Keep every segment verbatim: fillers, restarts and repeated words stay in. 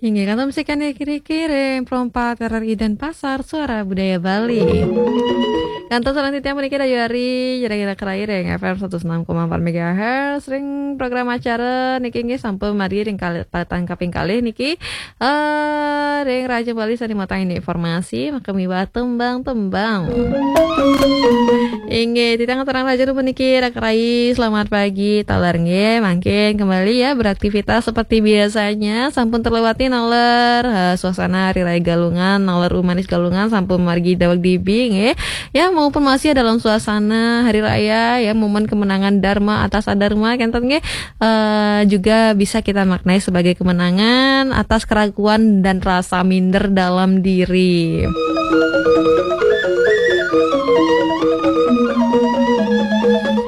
Inggih, kantun musik kene kiri-kiri, Perompak, R R I Denpasar, Suara Budaya Bali. Kantun sareng titiang puniki Dayuari, Jeragira Kerai ring F M seratus enam koma empat megahertz, ring program acara niki inggih sampun margi ring kali, paletan kaping kalih niki. Eh, ring Raja Bali sane matang ini informasi, maka miwah tembang-tembang. Inggih, titiang aturang raja puniki Raka Rai, selamat pagi, taler nggih, mangkin kembali ya beraktivitas seperti biasanya, sampun terlewati naler, eh, suasana Hari Raya Galungan, naler umanis Galungan, sampun margi daweg dibi nggih. Ya, maupun masih dalam suasana Hari Raya, ya, momen kemenangan Dharma atas Adharma, kenten nggih, eh, juga bisa kita maknai sebagai kemenangan atas keraguan dan rasa minder dalam diri.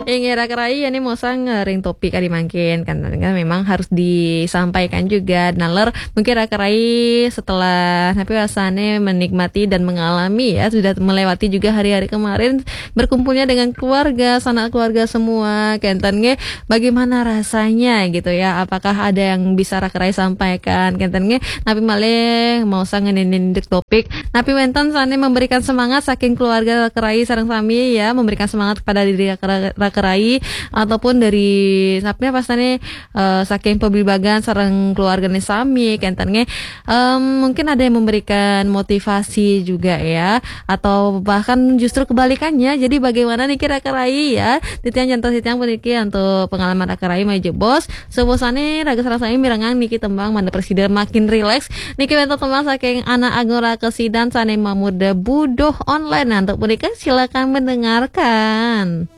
Inggih, Raka Rai, ini mosang, eh, ring topik kadi mangkin, kan, kan memang harus disampaikan juga. Naler, mungkin Raka Rai setelah, tapi rasanya menikmati dan mengalami ya, sudah melewati juga hari-hari kemarin, berkumpulnya dengan keluarga, sanak keluarga semua, kenten nggih, bagaimana rasanya gitu ya? Apakah ada yang bisa Raka Rai sampaikan, kenten nggih? Napi malih maosang ngenenin topik, napi wenten sane memberikan semangat saking keluarga Raka Rai sareng sami ya, memberikan semangat kepada diri Raka, Raka Rai ataupun dari, napi apa sane, eh, saking pabligbagan sareng keluargane sami, kenten nggih. Em, mungkin ada yang memberikan motivasi juga ya, atau bahkan justru kebalikannya. Jadi bagaimana niki Raka Rai ya? Titiang jantos titiang puniki untuk pengalaman Raka Rai malih jebos. Sapunapi raga sareng sami mirengang niki tembang mangda prasida makin rileks. Niki wenten tembang saking Anak Agung Raka Sidan sane mamurda Buduh Online. Nah, untuk punika silakan mendengarkan.